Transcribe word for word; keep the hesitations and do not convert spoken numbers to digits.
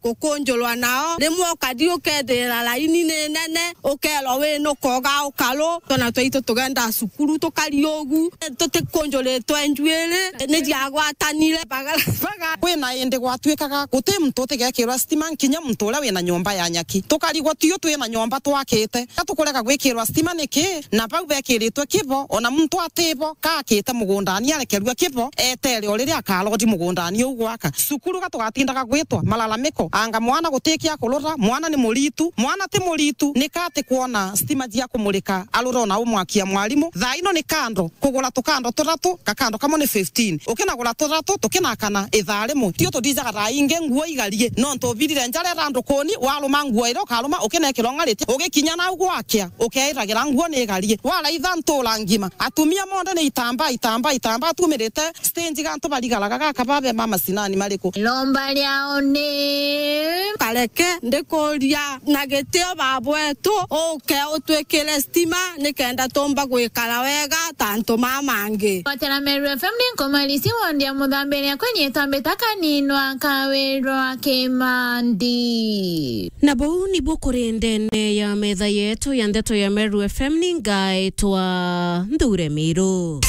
ukunjurwa nao. Rimwe ukari ukethira laini ni nene, ukerwa wi nukoga ukaru. Twana twaitu tugenda cukuru tukari ugu, tutikunjuritwe njuiri, ni jiagwatanire. Baga-, baga-, kwina indi gwatuikaga guti muntu utigekirwa stima, nkinya muntu uria wina nyomba ya nyaki. Tukarigwa tiu twina nyomba twakite. Ka tukurega gwikirwa stima niki? Na bau bekiritwe kibo, ona muntu atibo, ka akite mugundani arekerua kibo, etere o riria akarodi mugundani uu gwaka. Cukuru ka tugatindaga gwitwa malalamiko, anga mwana guti kia kurura, mwana ni muritu, mwana ti muritu, nika ati kwona stima cia kumurika, arura ona umwakia mwarimu. Thaa ino ni kando, kugura tukando turatu, gakando kamwe ni fifteen. Ukinagura turatu, tukinakana ithaa rimwe. Tio tuthijaga thaa ingi nguo igarie, nontu ubirire njara ira ndukuni, waruma nguo iria ukaruma, ukinekirwa ng'ariti, ugikinya nau gwakia, ukeiragira nguo ni igarie. Waraitha ntura ngima, atumia monthe ni itambaa, itambaa, itambaa tumirite stage, gantu barigaraga gaka babe ma macinani mariku? Lomba riao ni kareke ndikuria na gitio, baba wetu, uke utwikire stima nikenda tumba gwikara wega ta antu ma mangi. Gwatira Meru F M ni nkomalisi wondi ya muthambiri akwenyetwa mbita kaninwa kawirwa kimandi. Na buu nibu kuri ndene ya metha yetu ya ndeto ya Meru F M, ni ngaitwa Nthure Miru.